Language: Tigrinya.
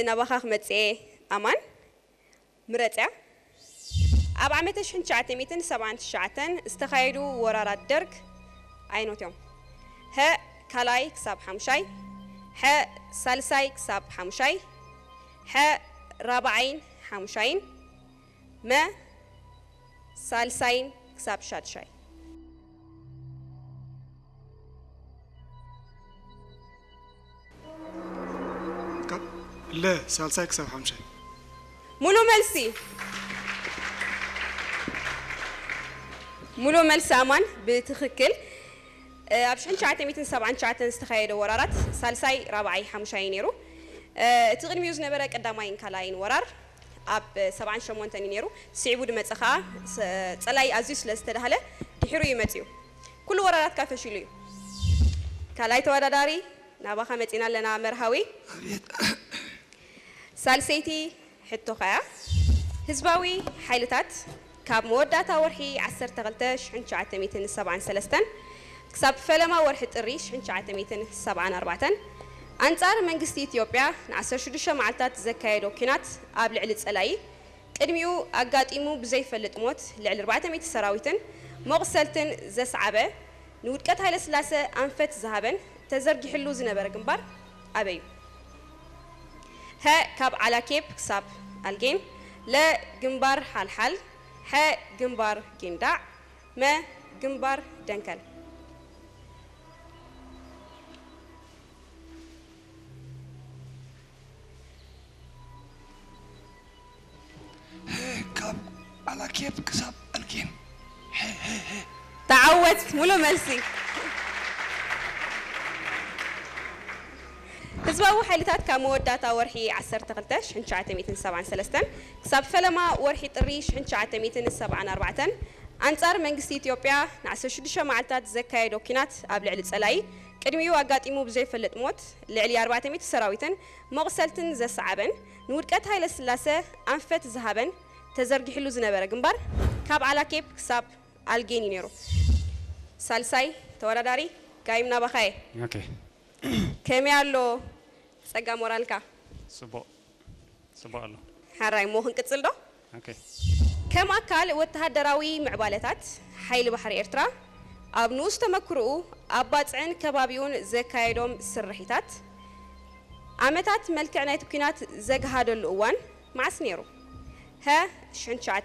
ናባኻ ክመጽእ እየ ኣማን። ምረጽያ። ኣብ ዓመተ ሽሕን ትሽዓተ ሚእትን ሰብዓን ትሽዓተን ዝተኻየዱ ወራራት ደርግ ኣይኖት እዮም። ሀ ካልኣይ ክሳብ ሓሙሻይ፣ ሐ ሳልሳይ ክሳብ ሓሙሻይ፣ ሐ ራብዓይን ሓሙሻይን፣ መ ሳልሳይን ክሳብ ሻድሻይ። ካብ ለ ሳልሳይ ክሳብ ሓምሻይ። ሙሉ መልሲ። ሙሉ መልሲ ኣማን ብትኽክል። ኣብ ሽሕን ትሽዓተ ሚእትን ሰብዓን ትሽዓተን ዝተኻየደ ወራራት ሳልሳይ፣ ራብዓይ፣ ሓሙሻይ ነይሩ። እቲ ቅድሚኡ ዝነበረ ቀዳማይን ካልኣይን ወራር ኣብ ሰብዓን ሸሞንተን እዩ ነይሩ። ስዒቡ ድመፀ ከዓ ጸላኢ ኣዝዩ ስለ ዝተዳህለ ድሒሩ እዩ መፅዩ። ኩሉ ወራራትካ ፈሺሉ እዩ። ካልኣይ ተወዳዳሪ ናባኻ መፂና ኣለና መርሃዊ። ሳልሰይቲ ሕቶኻ እያ። ህዝባዊ ሓይልታት ካብ መወዳእታ ወርሒ ዓሰርተ ክልተ ሽሕን ትሽዓተ ሚእትን ሰብዓን ሰለስተን ክሳብ ፈለማ ወርሒ ጥሪ ሽሕን ትሽዓተ ሚእትን ሰብዓን ኣርባዕተን ኣንጻር መንግስቲ ኢትዮጵያ ንዓሰርተ ሽዱሽተ መዓልታት ዘካየዶ ኲናት ኣብ ልዕሊ ጸላኢ ቅድሚኡ ኣጋጢሙ ብዘይፈልጥ ሞት ልዕሊ ኣርባዕተ ሚእቲ ሰራዊትን መቑሰልትን ዘስዓበ ንውድቀት ሃይለስላሰ ኣንፈት ዝሃበን ተዘርጊሕሉ ዝነበረ ግንባር ኣበይ እዩ? ሀ ካብ ዓላኬፕ ክሳብ ኣልጌን፣ ለ ግንባር ሓልሓል፣ ሐ ግንባር ጊንዳዕ፣ መ ግንባር ደንከል። ካብ ዓላኬፕ ክሳብ ኣልጌን። ተዓወት ሙሉ መልሲ። ህዝባዊ ሓይልታት ካብ መወዳእታ ወርሒ ዓሰርተ ክልተ ሽሕን ትሽዓተ ሚእትን ሰብዓን ሰለስተን ክሳብ ፈለማ ወርሒ ጥሪ ሽሕን ትሽዓተ ሚእትን ሰብዓን ኣርባዕተን ኣንጻር መንግስቲ ኢትዮጵያ ንዓሰርተ ሽዱሽተ መዓልታት ዘካየዶ ኲናት ኣብ ልዕሊ ጸላኢ ቅድሚኡ ኣጋጢሙ ብዘይፈልጥ ሞት ልዕሊ ኣርባዕተ ሚእቲ ሰራዊትን መቑሰልትን ዘሰዓበን ንውድቀት ሃይለስላሰ ኣንፈት ዝሃበን ተዘርጊሕሉ ዝነበረ ግንባር ካብ ዓላኬፕ ክሳብ ኣልጌን እዩ ነይሩ። ሳልሳይ ተወዳዳሪ ጋይም ናባኻየ። ኦኬ። ከመይ ኣሎ ጸጋ ሞራልካ? ጽቡቕ ጽቡቕ ኣሎ። ሓራይ እሞ ክንቅጽል ዶ? ኦኬ። ከም ኣካል ወተሃደራዊ ምዕባለታት ሓይሊ ባሕሪ ኤርትራ ኣብ ንኡስ ተመክሮኡ ኣብ ባጽዕን ከባቢኡን ዘካየዶም ስርሒታት ኣመታት መልክዕ ናይቲ ኲናት ዘግሃደሉ እዋን መዓስ ነይሩ? ሀ ሽሕን ትሽዓተ